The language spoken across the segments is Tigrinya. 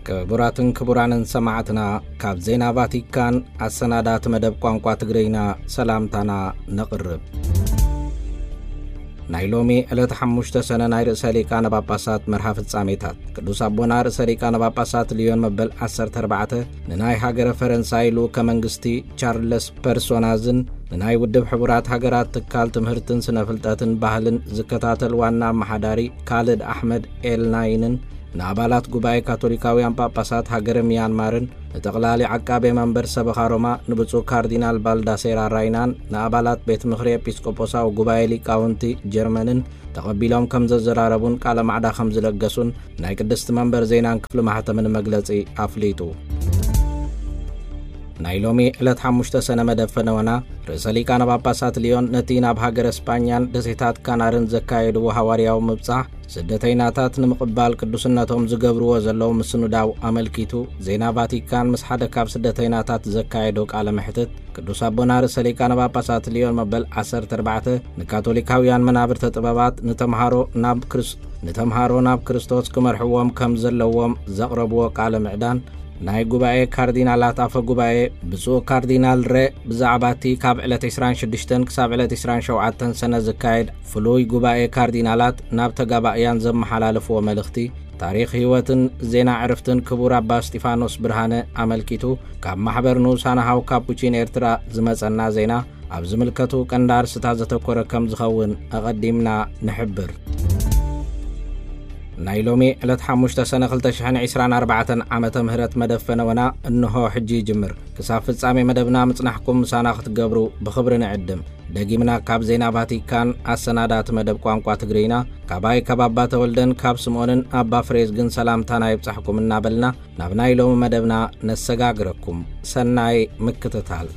ክቡራትን ክቡራንን ሰማዕትና፣ ካብ ዜና ቫቲካን ኣሰናዳእቲ መደብ ቋንቋ ትግርኛ ሰላምታና ነቕርብ። ናይ ሎሚ ዕለት ሓሙሽተ ሰነ ናይ ርእሰ ሊቃነ ጳጳሳት መርሃ ፍጻሜታት። ቅዱስ ኣቦና ርእሰ ሊቃነ ጳጳሳት ልዮን መበል ዓሰርተ ኣርባዕተ ንናይ ሃገረ ፈረንሳይ ልኡከ መንግስቲ ቻርለስ ፐርሶናዝን ንናይ ውድብ ሕቡራት ሃገራት ትካል ትምህርትን ስነ ፍልጠትን ባህልን ዝከታተል ዋና ኣመሓዳሪ ካልድ ኣሕመድ ኤልናይንን ንኣባላት ጉባኤ ካቶሊካውያን ጳጳሳት ሃገረ ሚያንማርን ንጠቕላሊ ዓቃቤ መንበር ሰበኻ ሮማ ንብፁዕ ካርዲናል ባልዳሴራ ራይናን ንኣባላት ቤት ምኽሪ ኤጲስቆጶሳዊ ጉባኤ ሊቃውንቲ ጀርመንን ተቐቢሎም ከም ዘዘራረቡን ቃለ ማዕዳ ከም ዝለገሱን ናይ ቅድስቲ መንበር ዜናን ክፍሊ ማሕተምን መግለጺ ኣፍሊጡ። ናይ ሎሚ ዕለት ሓሙሽተ ሰነ መደብ ፈነወና ርእሰ ሊቃነ ጳጳሳት ልዮን ነቲ ናብ ሃገረ ስጳኛን ደሴታት ካናርን ዘካየድዎ ሃዋርያዊ ምብጻሕ ስደተይናታት ንምቕባል ቅዱስነቶም ዝገብርዎ ዘለዉ ምስንዳው ኣመልኪቱ ዜና ቫቲካን ምስ ሓደ ካብ ስደተይናታት ዘካየዶ ቃለ መሕትት ቅዱስ ኣቦና ርእሰ ሊቃነ ጳጳሳት ልዮን መበል ዓሰርተ ኣርባዕተ ንካቶሊካውያን መናብርተ ጥበባት ንተምሃሮ ናብ ክርስ- ንተምሃሮ ናብ ክርስቶስ ክመርሕዎም ከም ዘለዎም ዘቕረብዎ ቃለ ምዕዳን ናይ ጉባኤ ካርዲናላት ኣፈ ጉባኤ ብፁዕ ካርዲናል ሬ ብዛዕባ እቲ ካብ ዕለት ዕስራን ሽዱሽተን ክሳብ ዕለት ዕስራን ሸውዓተን ሰነ ዝካየድ ፍሉይ ጉባኤ ካርዲናላት ናብ ተጋባእያን ዘመሓላለፍዎ መልእኽቲ ታሪኽ ህይወትን ዜና ዕርፍትን ክቡር ኣባ እስጢፋኖስ ብርሃነ ኣመልኪቱ ካብ ማሕበር ንኡሳን ሃው ካፑቺን ኤርትራ ዝመጸና ዜና ኣብ ዝምልከቱ ቀንዲ ኣርስታት ዘተኮረ ከም ዝኸውን ኣቐዲምና ንሕብር። ናይ ሎሚ ዕለት ሓሙሽተ ሰነ ክልተ ሽሕን ዕስራን ኣርባዕተን ዓመተ ምህረት መደብ ፈነወና እንሆ ሕጂ ይጅምር። ክሳብ ፍጻሜ መደብና ምጽናሕኩም ምሳና ክትገብሩ ብኽብሪ ንዕድም። ደጊምና ካብ ዜና ቫቲካን ኣሰናዳእቲ መደብ ቋንቋ ትግርኛ ካባይ ካብ ኣባ ተወልደን ካብ ስምኦንን ኣባ ፍሬዝግን ሰላምታና ይብጻሕኩም እናበልና ናብ ናይ ሎሚ መደብና ነሰጋግረኩም። ሰናይ ምክትታል።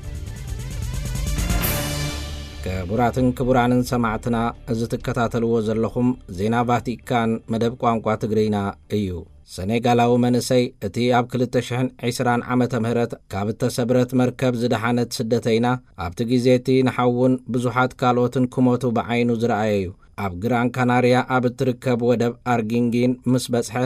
ክቡራትን ክቡራንን ሰማዕትና፣ እዚ ትከታተልዎ ዘለኹም ዜና ቫቲካን መደብ ቋንቋ ትግርኛ እዩ። ሰኔጋላዊ መንእሰይ፣ እቲ ኣብ ክልተ ሽሕን ዕስራን ዓመተ ምህረት ካብ እተሰብረት መርከብ ዝደሓነት ስደተይና፣ ኣብቲ ግዜ እቲ ንሓውን ብዙሓት ካልኦትን ክሞቱ ብዓይኑ ዝረኣየ እዩ። ኣብ ግራን ካናርያ ኣብ እትርከብ ወደብ ኣርጊንጊን ምስ በጽሐ፣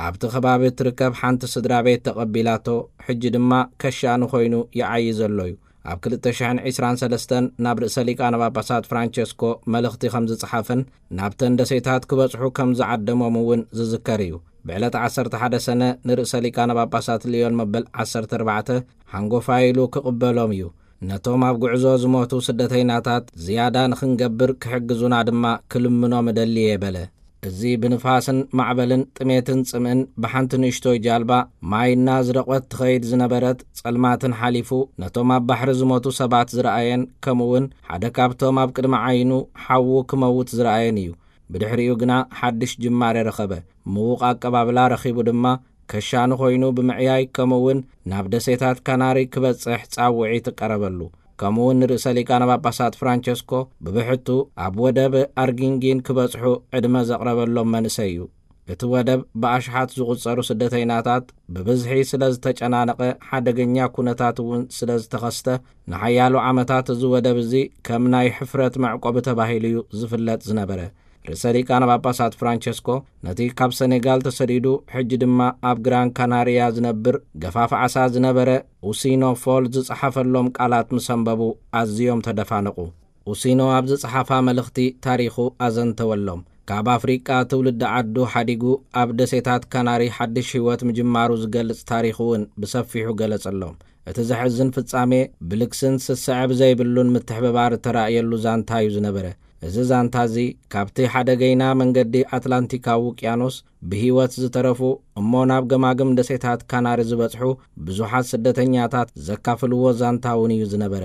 ኣብቲ ከባቢ እትርከብ ሓንቲ ስድራ ቤት ተቐቢላቶ፣ ሕጂ ድማ ከሻኒ ኮይኑ ይዓዪ ዘሎ እዩ። ኣብ ክልተ ሽሕን ዕስራን ሰለስተን ናብ ርእሰ ሊቃነ ጳጳሳት ፍራንቸስኮ መልእኽቲ ከም ዝጸሓፈን ናብተን ደሴታት ክበጽሑ ከም ዝዓደሞም እውን ዝዝከር እዩ። ብዕለት ዓሰርተ ሓደ ሰነ ንርእሰ ሊቃነ ጳጳሳት ልዮን መበል ዓሰርተ ኣርባዕተ ሓንጎፋይ ኢሉ ክቕበሎም እዩ። ነቶም ኣብ ጉዕዞ ዝሞቱ ስደተይናታት ዝያዳ ንኽንገብር ክሕግዙና ድማ ክልምኖም እደሊ እየ በለ። እዚ ብንፋስን ማዕበልን ጥሜትን ጽምእን ብሓንቲ ንእሽቶይ ጃልባ ማይ እናዝረቖት ትኸይድ ዝነበረት ጸልማትን ሓሊፉ ነቶም ኣብ ባሕሪ ዝሞቱ ሰባት ዝረኣየን ከምኡውን ሓደ ካብቶም ኣብ ቅድሚ ዓይኑ ሓዉ ክመውት ዝረኣየን እዩ። ብድሕሪኡ ግና ሓድሽ ጅማሬ ረኸበ። ምዉቕ ኣቀባብላ ረኺቡ ድማ ከሻኒ ኮይኑ ብምዕያይ ከምኡውን ናብ ደሴታት ካናሪ ክበጽሕ ጻውዒት ቀረበሉ። ከምኡውን ንርእሰ ሊቃነ ጳጳሳት ፍራንቸስኮ ብብሕቱ ኣብ ወደብ ኣርጊንጊን ክበጽሑ ዕድመ ዘቕረበሎም መንእሰይ እዩ። እቲ ወደብ ብኣሽሓት ዝቑጸሩ ስደተይናታት ብብዝሒ ስለ ዝተጨናነቐ ሓደገኛ ኩነታት እውን ስለ ዝተኸስተ ንሓያሎ ዓመታት እዚ ወደብ እዚ ከም ናይ ሕፍረት መዕቆቢ ተባሂሉ እዩ ዝፍለጥ ዝነበረ። ርእሰ ሊቃነ ጳጳሳት ፍራንቸስኮ ነቲ ካብ ሰኔጋል ተሰዲዱ ሕጂ ድማ ኣብ ግራን ካናርያ ዝነብር ገፋፍ ዓሳ ዝነበረ ኡሲኖ ፎል ዝጸሓፈሎም ቃላት ምስ ኣንበቡ ኣዝዮም ተደፋነቑ። ኡሲኖ ኣብ ዝጸሓፋ መልእኽቲ ታሪኹ ኣዘንተወሎም። ካብ ኣፍሪቃ ትውልዲ ዓዱ ሓዲጉ ኣብ ደሴታት ካናሪ ሓድሽ ህይወት ምጅማሩ ዝገልጽ ታሪኽ እውን ብሰፊሑ ገለጸሎም። እቲ ዘሕዝን ፍጻሜ ብልግስን ስስዐ ብዘይብሉን ምትሕብባር እተራእየሉ ዛንታ እዩ ዝነበረ። እዚ ዛንታ እዚ ካብቲ ሓደገይና መንገዲ ኣትላንቲካዊ ውቅያኖስ ብህይወት ዝተረፉ እሞ ናብ ገማግም ደሴታት ካናሪ ዝበጽሑ ብዙሓት ስደተኛታት ዘካፍልዎ ዛንታ እውን እዩ ዝነበረ።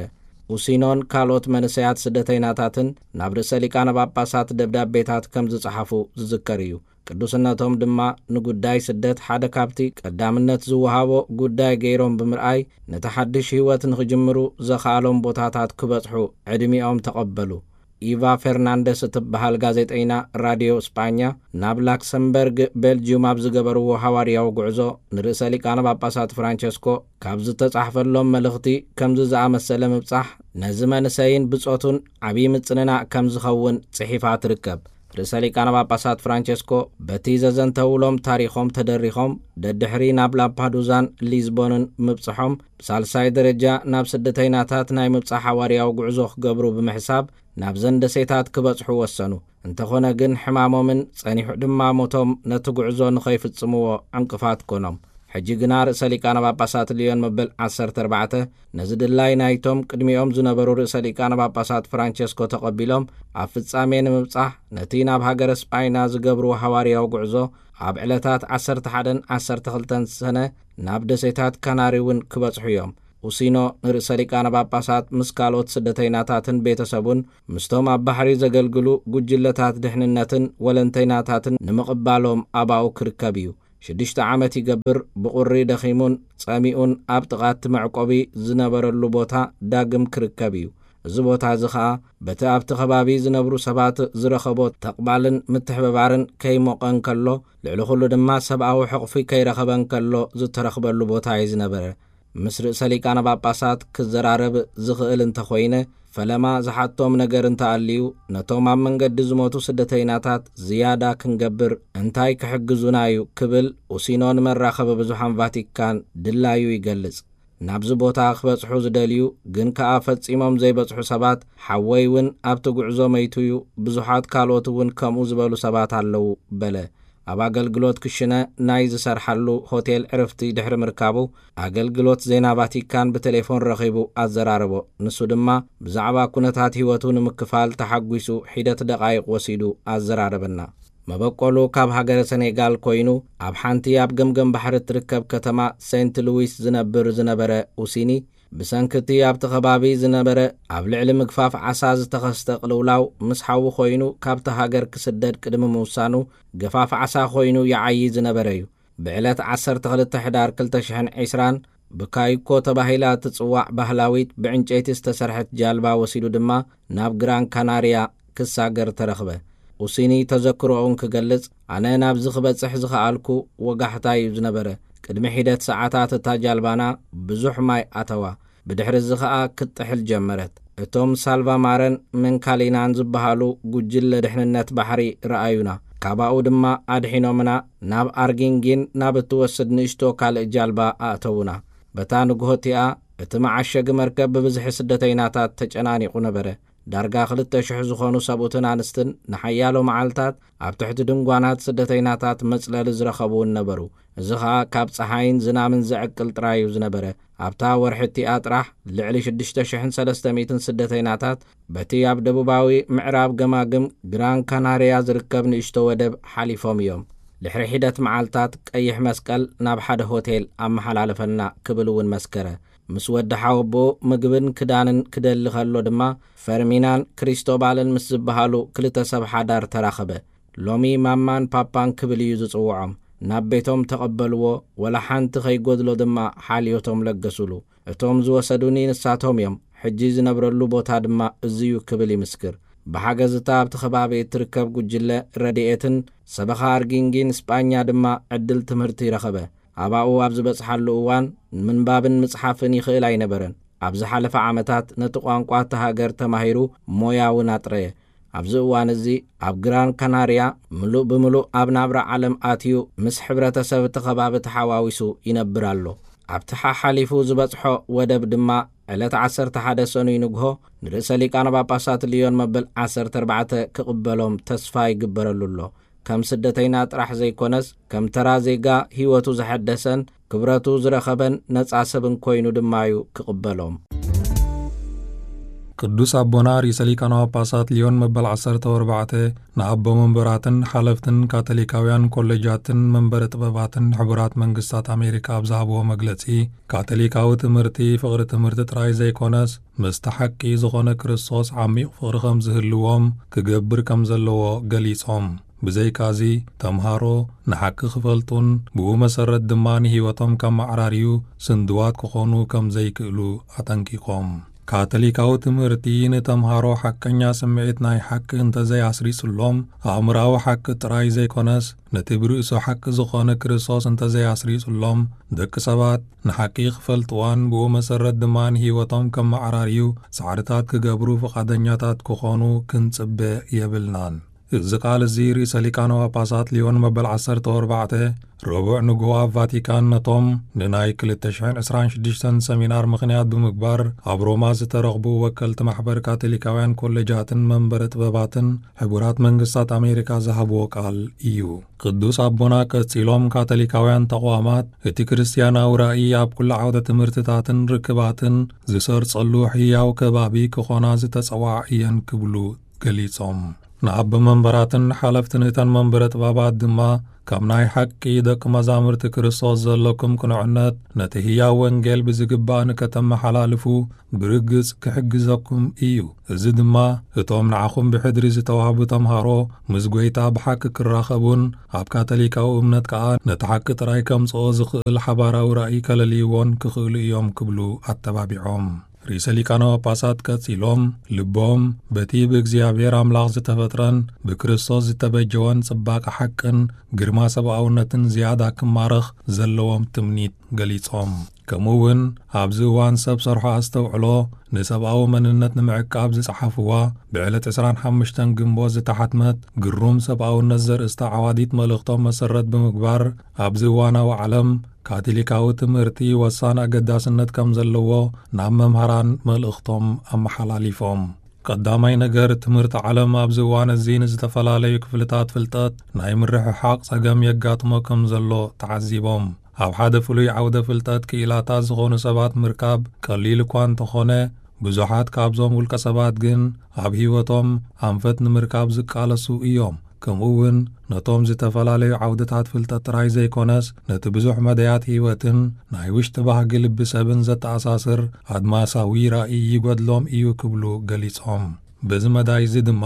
ኡሲኖን ካልኦት መንእሰያት ስደተይናታትን ናብ ርእሰ ሊቃነ ጳጳሳት ደብዳቤታት ከም ዝጸሓፉ ዝዝከር እዩ። ቅዱስነቶም ድማ ንጉዳይ ስደት ሓደ ካብቲ ቀዳምነት ዝወሃቦ ጉዳይ ገይሮም ብምርኣይ ነቲ ሓድሽ ህይወት ንኽጅምሩ ዘኽኣሎም ቦታታት ክበጽሑ ዕድሚኦም ተቐበሉ። ኢቫ ፌርናንደስ እትበሃል ጋዜጠይና ራድዮ ስጳኛ ናብ ላክሰምበርግ ቤልጅዩም ኣብ ዝገበርዎ ሃዋርያዊ ጉዕዞ ንርእሰ ሊቃነ ጳጳሳት ፍራንቸስኮ ካብ ዝተጻሕፈሎም መልእኽቲ ከምዚ ዝኣመሰለ ምብጻሕ ነዚ መንእሰይን ብጾቱን ዓብዪ ምጽንናዕ ከም ዝኸውን ጽሒፋ ትርከብ። ርእሰ ሊቃነ ጳጳሳት ፍራንቸስኮ በቲ ዘዘንተውሎም ታሪኾም ተደሪኾም ደድሕሪ ናብ ላምፓዱዛን ሊዝቦንን ምብጽሖም፣ ብሳልሳይ ደረጃ ናብ ስደተይናታት ናይ ምብጻሕ ሓዋርያዊ ጉዕዞ ክገብሩ ብምሕሳብ ናብዘን ደሴታት ክበጽሑ ወሰኑ። እንተኾነ ግን ሕማሞምን ጸኒሑ ድማ ሞቶም ነቲ ጉዕዞ ንኸይፍጽምዎ ዕንቅፋት ኮኖም። ሕጂ ግና ርእሰ ሊቃነ ጳጳሳት ልዮን መበል ዓሰርተ ኣርባዕተ ነዚ ድላይ ናይቶም ቅድሚኦም ዝነበሩ ርእሰ ሊቃነ ጳጳሳት ፍራንቸስኮ ተቐቢሎም፣ ኣብ ፍጻሜ ንምብጻሕ ነቲ ናብ ሃገረ ስጳይና ዝገብርዎ ሃዋርያዊ ጉዕዞ ኣብ ዕለታት ዓሰርተ ሓደን ዓሰርተ ክልተን ሰነ ናብ ደሴታት ካናሪ እውን ክበጽሑ እዮም። ኡሲኖ ንርእሰ ሊቃነ ጳጳሳት ምስ ካልኦት ስደተይናታትን ቤተሰቡን ምስቶም ኣብ ባሕሪ ዘገልግሉ ጉጅለታት ድሕንነትን ወለንተይናታትን ንምቕባሎም ኣባኡ ክርከብ እዩ። ሽዱሽተ ዓመት ይገብር፣ ብቑሪ ደኺሙን ጸሚኡን ኣብ ጥቓ እቲ መዕቆቢ ዝነበረሉ ቦታ ዳግም ክርከብ እዩ። እዚ ቦታ እዚ ኸኣ በቲ ኣብቲ ከባቢ ዝነብሩ ሰባት ዝረኸቦ ተቕባልን ምትሕብባርን ከይሞቐ እንከሎ፣ ልዕሊ ኹሉ ድማ ሰብኣዊ ሕቕፊ ከይረኸበ እንከሎ ዝተረኽበሉ ቦታ እዩ ዝነበረ። ምስ ርእሰ ሊቃነ ጳጳሳት ክዘራረብ ዝኽእል እንተኾይነ፣ ፈለማ ዝሓቶም ነገር እንተኣልዩ፣ ነቶም ኣብ መንገዲ ዝሞቱ ስደተይናታት ዝያዳ ክንገብር እንታይ ክሕግዙና እዩ ክብል ኡሲኖ ንመራኸቢ ብዙሓን ቫቲካን ድላዩ ይገልጽ። ናብዚ ቦታ ክበጽሑ ዝደልዩ ግን ከኣ ፈጺሞም ዘይበጽሑ ሰባት፣ ሓወይ እውን ኣብቲ ጉዕዞ መይቱ እዩ፣ ብዙሓት ካልኦት እውን ከምኡ ዝበሉ ሰባት ኣለዉ በለ። ኣብ ኣገልግሎት ክሽነ ናይ ዝሰርሓሉ ሆቴል ዕርፍቲ ድሕሪ ምርካቡ፣ ኣገልግሎት ዜና ቫቲካን ብቴሌፎን ረኺቡ ኣዘራረቦ። ንሱ ድማ ብዛዕባ ኩነታት ህይወቱ ንምክፋል ተሓጒሱ ሒደት ደቓይቕ ወሲዱ ኣዘራረበና። መበቆሉ ካብ ሃገረ ሰኔጋል ኮይኑ፣ ኣብ ሓንቲ ኣብ ገምገም ባሕሪ እትርከብ ከተማ ሴንት ሉዊስ ዝነብር ዝነበረ ኡሲኒ፣ ብሰንኪ እቲ ኣብቲ ከባቢ ዝነበረ ኣብ ልዕሊ ምግፋፍ ዓሳ ዝተኸስተ ቅልውላው፣ ምስ ሓዉ ኮይኑ ካብቲ ሃገር ክስደድ ቅድሚ ምውሳኑ፣ ገፋፍ ዓሳ ኮይኑ ይዓዪ ዝነበረ እዩ። ብዕለት ዓሰርተ ክልተ ሕዳር ክልተ ሽሕን ዕስራን ብካይኮ ተባሂላ እትጽዋዕ ባህላዊት ብዕንጨይቲ ዝተሰርሐት ጃልባ ወሲዱ ድማ ናብ ግራን ካናርያ ክሳገር ተረኽበ። ኡሲኒ ተዘክሮኡን ክገልጽ፣ ኣነ ናብዚ ክበጽሕ ዝኸኣልኩ ወጋሕታ እዩ ዝነበረ። ቅድሚ ሒደት ሰዓታት እታ ጃልባና ብዙሕ ማይ ኣተዋ። ብድሕሪ እዚ ኸኣ ክትጥሕል ጀመረት። እቶም ሳልቫማረን መንካሊናን ዝበሃሉ ጉጅለ ድሕንነት ባሕሪ ረኣዩና። ካባኡ ድማ ኣድሒኖምና ናብ ኣርጊንጊን ናብ እትወስድ ንእሽቶ ካልእ ጃልባ ኣእተዉና። በታ ንግሆ እቲኣ እቲ መዓሸጊ መርከብ ብብዝሒ ስደተይናታት ተጨናኒቑ ነበረ። ዳርጋ ክልተ ሽሕ ዝኾኑ ሰብኡትን ኣንስትን ንሓያሎ መዓልታት ኣብ ትሕቲ ድንጓናት ስደተይናታት መጽለሊ ዝረኸቡ እውን ነበሩ። እዚ ኸኣ ካብ ጸሓይን ዝናምን ዘዕቅል ጥራይ እዩ ዝነበረ። ኣብታ ወርሒ እቲኣ ጥራሕ ልዕሊ ሽዱሽተ ሽሕን ሰለስተ ሚእትን ስደተይናታት በቲ ኣብ ደቡባዊ ምዕራብ ገማግም ግራን ካናርያ ዝርከብ ንእሽቶ ወደብ ሓሊፎም እዮም። ድሕሪ ሒደት መዓልታት ቀይሕ መስቀል ናብ ሓደ ሆቴል ኣመሓላለፈና ክብል እውን መስከረ። ምስ ወዲ ሓወቦኡ ምግብን ክዳንን ክደሊ ከሎ ድማ ፈርሚናን ክሪስቶባልን ምስ ዝበሃሉ ክልተ ሰብ ሓዳር ተራኸበ። ሎሚ ማማን ፓፓን ክብል እዩ ዝጽውዖም። ናብ ቤቶም ተቐበልዎ፣ ወላ ሓንቲ ከይጎድሎ ድማ ሓልዮቶም ለገሱሉ። እቶም ዝወሰዱኒ ንሳቶም እዮም፣ ሕጂ ዝነብረሉ ቦታ ድማ እዚ'ዩ ክብል ይምስክር። ብሓገዝ እታ ኣብቲ ከባቢ እትርከብ ጉጅለ ረድኤትን ሰበኻ ኣርጊንጊን ስጳኛ ድማ ዕድል ትምህርቲ ረኸበ። ኣባኡ ኣብ ዝበጽሓሉ እዋን ምንባብን ምጽሓፍን ይኽእል ኣይነበረን። ኣብ ዝሓለፈ ዓመታት ነቲ ቋንቋ እታ ሃገር ተማሂሩ ሞያ እውን ኣጥረየ። ኣብዚ እዋን እዚ ኣብ ግራን ካናርያ ምሉእ ብምሉእ ኣብ ናብራ ዓለም ኣትዩ ምስ ሕብረተሰብ እቲ ከባቢ ተሓዋዊሱ ይነብር ኣሎ። ኣብቲ ሓሓሊፉ ዝበጽሖ ወደብ ድማ ዕለት ዓሰርተ ሓደ ሰኑይ ንግሆ ንርእሰ ሊቃነ ጳጳሳት ልዮን መበል ዓሰርተ ኣርባዕተ ክቕበሎም ተስፋ ይግበረሉ ኣሎ። ከም ስደተይና ጥራሕ ዘይኮነስ፣ ከም ተራ ዜጋ ህይወቱ ዘሐደሰን ክብረቱ ዝረኸበን ነጻ ሰብን ኮይኑ ድማ እዩ ክቕበሎም። ቅዱስ ኣቦና ርእሰ ሊቃነ ጳጳሳት ልዮን መበል ዓሰርተ ኣርባዕተ ንኣቦ መንበራትን ሓለፍትን ካቶሊካውያን ኮሌጃትን መንበረ ጥበባትን ሕቡራት መንግስታት ኣሜሪካ ኣብ ዝሃብዎ መግለጺ፣ ካቶሊካዊ ትምህርቲ ፍቕሪ ትምህርቲ ጥራይ ዘይኮነስ፣ ምስቲ ሓቂ ዝኾነ ክርስቶስ ዓሚቕ ፍቕሪ ከም ዝህልዎም ክገብር ከም ዘለዎ ገሊጾም። ብዘይካዚ፣ ተምሃሮ ንሓቂ ክፈልጡን ብኡ መሰረት ድማ ንህይወቶም ከመዓራርዩ ስንድዋት ክኾኑ ከም ዘይክእሉ ኣጠንቂቖም። ካቶሊካዊ ትምህርቲ ንተምሃሮ ሓቀኛ ስምዒት ናይ ሓቂ እንተዘይኣስሪጹሎም፣ ኣእምራዊ ሓቂ ጥራይ ዘይኮነስ፣ ነቲ ብርእሱ ሓቂ ዝኾነ ክርስቶስ እንተዘይኣስሪጹሎም፣ ደቂ ሰባት ንሓቂ ክፈልጥዋን ብኡ መሰረት ድማ ንህይወቶም ከመዓራርዩ ጻዕርታት ክገብሩ ፍቓደኛታት ክኾኑ ክንጽበ የብልናን። እዚ ቃል እዚ ርእሰ ሊቃነ ጳጳሳት ሊዮን መበል ዓሰርተ ኣርባዕተ ረቡዕ ንግሆ ኣብ ቫቲካን ነቶም ንናይ ክልተ ሽሕን ዕስራን ሽዱሽተን ሰሚናር ምኽንያት ብምግባር ኣብ ሮማ ዝተረኽቡ ወከልቲ ማሕበር ካቶሊካውያን ኮሌጃትን መንበረ ጥበባትን ሕቡራት መንግስታት ኣሜሪካ ዝሃብዎ ቃል እዩ። ቅዱስ ኣቦና ቀጺሎም፣ ካቶሊካውያን ተቋማት እቲ ክርስትያናዊ ራእይ ኣብ ኩሉ ዓውደ ትምህርትታትን ርክባትን ዝሰርጸሉ ሕያው ከባቢ ክኾና ዝተጸዋዓ እየን ክብሉ ገሊጾም። ንኣቦ መንበራትን ሓለፍትን እተን መንበረ ጥበባት ድማ፣ ከም ናይ ሓቂ ደቂ መዛሙርቲ ክርስቶስ ዘለኩም ቅኑዕነት፣ ነቲ ህያው ወንጌል ብዝግባእ ንከተመሓላልፉ ብርግጽ ክሕግዘኩም እዩ። እዚ ድማ እቶም ንዓኹም ብሕድሪ ዝተዋህቡ ተምሃሮ ምስ ጐይታ ብሓቂ ክራኸቡን ኣብ ካቶሊካዊ እምነት ከኣ ነቲ ሓቂ ጥራይ ከምጽኦ ዝኽእል ሓባራዊ ራእይ ከለልይዎን ክኽእሉ እዮም ክብሉ ኣተባቢዖም። ርእሰ ሊቃነ ጳጳሳት ቀጺሎም፣ ልቦም በቲ ብእግዚኣብሔር ኣምላኽ ዝተፈጥረን ብክርስቶስ ዝተበጀወን ጽባቐ ሓቅን ግርማ ሰብኣውነትን ዝያዳ ክማረኽ ዘለዎም ትምኒት ገሊጾም። ከምኡ እውን ኣብዚ እዋን ሰብ ሰርሖ ኣስተውዕሎ ንሰብኣዊ መንነት ንምዕቃብ ዝጸሓፍዋ ብዕለት ዕስራን ሓሙሽተን ግንቦት ዝተሓትመት ግሩም ሰብኣውነት ዘርእስታ ዓዋዲት መልእኽቶም መሰረት ብምግባር፣ ኣብዚ እዋናዊ ዓለም ካቶሊካዊ ትምህርቲ ወሳኒ ኣገዳስነት ከም ዘለዎ ናብ መምሃራን መልእኽቶም ኣመሓላሊፎም። ቀዳማይ ነገር፣ ትምህርቲ ዓለም ኣብዚ እዋን እዚ ንዝተፈላለዩ ክፍልታት ፍልጠት ናይ ምርሕሓቕ ጸገም የጋጥሞ ከም ዘሎ ተዓዚቦም። ኣብ ሓደ ፍሉይ ዓውደ ፍልጠት ክኢላታት ዝኾኑ ሰባት ምርካብ ቀሊል እኳ እንተኾነ፣ ብዙሓት ካብዞም ውልቀ ሰባት ግን ኣብ ህይወቶም ኣንፈት ንምርካብ ዝቃለሱ እዮም። ከምኡ እውን ነቶም ዝተፈላለዩ ዓውድታት ፍልጠት ጥራይ ዘይኮነስ፣ ነቲ ብዙሕ መዳያት ህይወትን ናይ ውሽጢ ባህጊ ልቢ ሰብን ዘተኣሳስር ኣድማሳዊ ራእይ ይጎድሎም እዩ ክብሉ ገሊጾም። በዚ መዳይ እዚ ድማ፣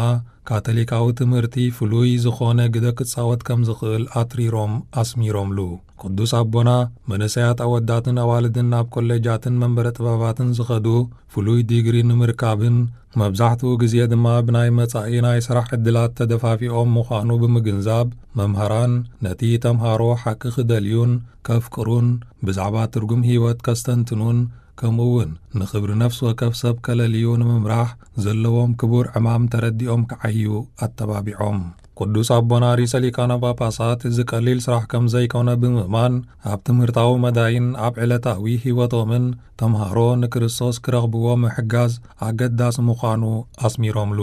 ካቶሊካዊ ትምህርቲ ፍሉይ ዝኾነ ግደ ክጻወት ከም ዝኽእል ኣትሪሮም ኣስሚሮምሉ። ቅዱስ ኣቦና፣ መንእሰያት ኣወዳትን ኣዋልድን ናብ ኮሌጃትን መንበረ ጥበባትን ዝኸዱ ፍሉይ ዲግሪ ንምርካብን፣ መብዛሕትኡ ግዜ ድማ ብናይ መጻኢ ናይ ስራሕ ዕድላት ተደፋፊኦም ምዃኑ ብምግንዛብ፣ መምሃራን ነቲ ተምሃሮ ሓቂ ክደልዩን ከፍቅሩን፣ ብዛዕባ ትርጉም ህይወት ከስተንትኑን፣ ከምኡ እውን ንኽብሪ ነፍሲ ወከፍ ሰብ ከለልዩ ንምምራሕ ዘለዎም ክቡር ዕማም ተረዲኦም ክዓዩ ኣተባቢዖም። ቅዱስ ኣቦና ርእሰ ሊቃነ ጳጳሳት እዚ ቀሊል ስራሕ ከም ዘይኮነ ብምእማን፣ ኣብ ትምህርታዊ መዳይን ኣብ ዕለታዊ ህይወቶምን ተምሃሮ ንክርስቶስ ክረኽብዎ ምሕጋዝ ኣገዳሲ ምዃኑ ኣስሚሮምሉ።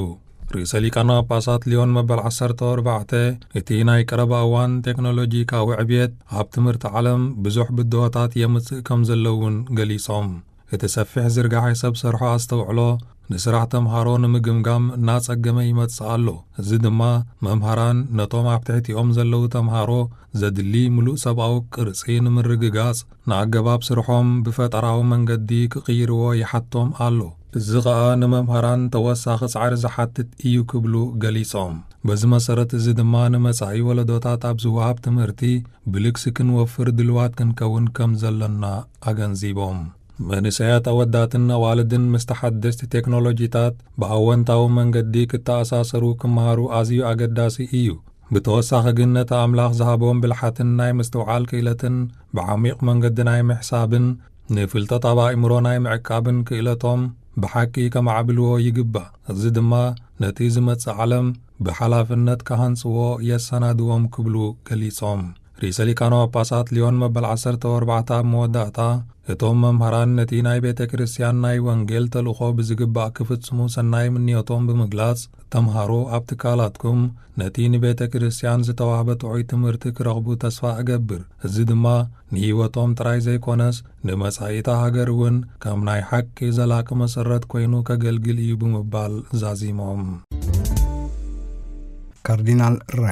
ርእሰ ሊቃነ ጳጳሳት ሊዮን መበል ዓሰርተ ኣርባዕተ፣ እቲ ናይ ቀረባ እዋን ቴክኖሎጂካዊ ዕብየት ኣብ ትምህርቲ ዓለም ብዙሕ ብድሆታት የምጽእ ከም ዘሎ እውን ገሊጾም። እቲ ሰፊሕ ዝርጋሐ ሰብ ሰርሖ ኣስተውዕሎ ንስራሕ ተምሃሮ ንምግምጋም እናጸገመ ይመጽእ ኣሎ። እዚ ድማ መምሃራን ነቶም ኣብ ትሕቲኦም ዘለዉ ተምሃሮ ዘድሊ ምሉእ ሰብኣዊ ቅርጺ ንምርግጋጽ፣ ንኣገባብ ስርሖም ብፈጠራዊ መንገዲ ክቕይርዎ ይሓቶም ኣሎ። እዚ ኸኣ ንመምሃራን ተወሳኺ ጻዕሪ ዝሓትት እዩ ክብሉ ገሊጾም። በዚ መሰረት፣ እዚ ድማ ንመጻኢ ወለዶታት ኣብ ዝወሃብ ትምህርቲ ብልግሲ ክንወፍር ድልዋት ክንከውን ከም ዘለና ኣገንዚቦም። መንእሰያት ኣወዳትን ኣዋልድን ምስ ተሓደስቲ ቴክኖሎጂታት ብኣወንታዊ መንገዲ ክተኣሳሰሩ ክመሃሩ ኣዝዩ ኣገዳሲ እዩ። ብተወሳኺ ግን፣ ነቲ ኣምላኽ ዝሃቦም ብልሓትን ናይ ምስትውዓል ክኢለትን ብዓሚቕ መንገዲ ናይ ምሕሳብን ንፍልጠት ኣብ ኣእምሮ ናይ ምዕቃብን ክኢለቶም ብሓቂ ከማዕብልዎ ይግባእ። እዚ ድማ ነቲ ዝመጽእ ዓለም ብሓላፍነት ክሃንጽዎ የሰናድዎም ክብሉ ገሊጾም። ርእሰ ሊቃነ ጳጳሳት ሊዮን መበል ዓሰርተ ኣርባዕተ ኣብ መወዳእታ፣ እቶም መምህራን ነቲ ናይ ቤተ ክርስቲያን ናይ ወንጌል ተልእኾ ብዝግባእ ክፍጽሙ ሰናይ ምንዮቶም ብምግላጽ፣ ተምሃሮ ኣብ ትካላትኩም ነቲ ንቤተ ክርስቲያን ዝተዋህበ ጥዑይ ትምህርቲ ክረኽቡ ተስፋ እገብር። እዚ ድማ ንህይወቶም ጥራይ ዘይኮነስ፣ ንመጻኢታ ሃገር እውን ከም ናይ ሓቂ ዘላቂ መሰረት ኮይኑ ከገልግል እዩ ብምባል ዛዚሞም። ካርዲናል ሬ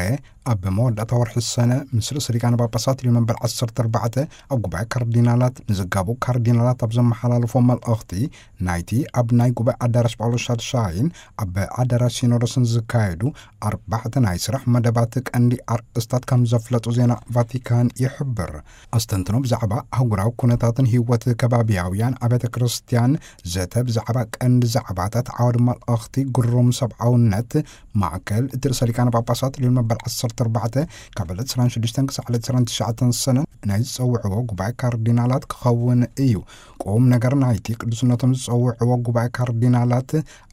ኣብ መወዳእታ ወርሒ ሰነ ምስ ርእሰ ሊቃነ ጳጳሳት ሊዮ መንበር ዓሰርተ ኣርባዕተ ኣብ ጉባኤ ካርዲናላት ንዘጋቡ ካርዲናላት ኣብ ዘመሓላለፎ መልእኽቲ፣ ናይቲ ኣብ ናይ ጉባኤ ኣዳራሽ ጳውሎስ ሻድሻይን ኣብ ኣዳራሽ ሲኖዶስን ዝካየዱ ኣርባዕተ ናይ ስራሕ መደባት ቀንዲ ኣርእስታት ከም ዘፍለጡ ዜና ቫቲካን ይሕብር። ኣስተንትኖ ብዛዕባ ኣህጉራዊ ኩነታትን ህይወት ከባቢያውያን ኣብያተ ክርስቲያን፣ ዘተ ብዛዕባ ቀንዲ ዛዕባታት ዓውዲ መልእኽቲ ግሩም ሰብኣውነት፣ ማእከል እቲ ርእሰ ሊቃነ ጳጳሳት ልዮን መበል ዓሰርተ ኣርባዕተ ካብ ዕለት ዕስራን ሽዱሽተን ክሳዕ ዕለት ዕስራን ትሽዓተን ሰነ ናይ ዝጸውዕዎ ጉባኤ ካርዲናላት ክኸውን እዩ። ብቁም ነገር ናይቲ ቅዱስነቶም ዝጸውዕዎ ጉባኤ ካርዲናላት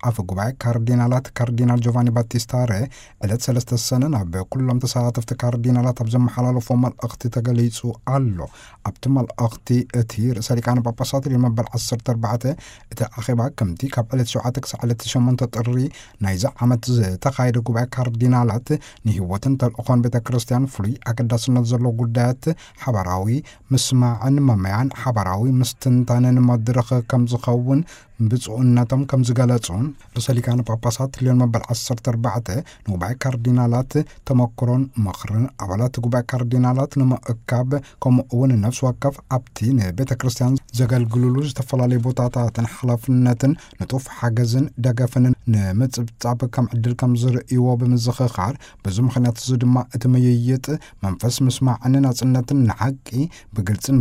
ኣፈ ጉባኤ ካርዲናላት ካርዲናል ጆቫኒ ባቲስታ ሬ ዕለት ሰለስተ ሰነ ናብ ኩሎም ተሳተፍቲ ካርዲናላት ኣብ ዘመሓላለፎ መልእኽቲ ተገሊጹ ኣሎ። ኣብቲ መልእኽቲ እቲ ርእሰ ሊቃነ ጳጳሳት ሊዮ መበል ዓሰርተ ኣርባዕተ እቲ ኣኼባ ከምቲ ካብ ዕለት ሸውዓተ ክሳዕ ዕለት ሸሞንተ ጥሪ ናይዚ ዓመት ዝተኻየደ ጉባኤ ካርዲናላት ንህይወትን ተልእኾን ቤተ ክርስቲያን ፍሉይ ኣገዳስነት ዘለዎ ጉዳያት ሓባራዊ ምስማዕን መመያን ሓባራዊ ምስትንታንን መድረኽ ከም ዝኸውን ብፁዕነቶም ከም ዝገለጹን ርእሰ ሊቃነ ጳጳሳት ሊዮን መበል ዓሰርተ ኣርባዕተ ንጉባኤ ካርዲናላት ተመክሮን ምኽርን ኣባላት ጉባኤ ካርዲናላት ንምእካብ ከምኡ እውን ነፍሲ ወከፍ ኣብቲ ንቤተ ክርስቲያን ዘገልግሉሉ ዝተፈላለዩ ቦታታትን ሓላፍነትን ንጡፍ ሓገዝን ደገፍን ንምጽብጻብ ከም ዕድል ከም ዝርእይዎ ብምዝኽኻር፣ በዚ ምኽንያት እዚ ድማ እቲ ምይይጥ መንፈስ ምስማዕን ናጽነትን ንሓቂ ብግልጽን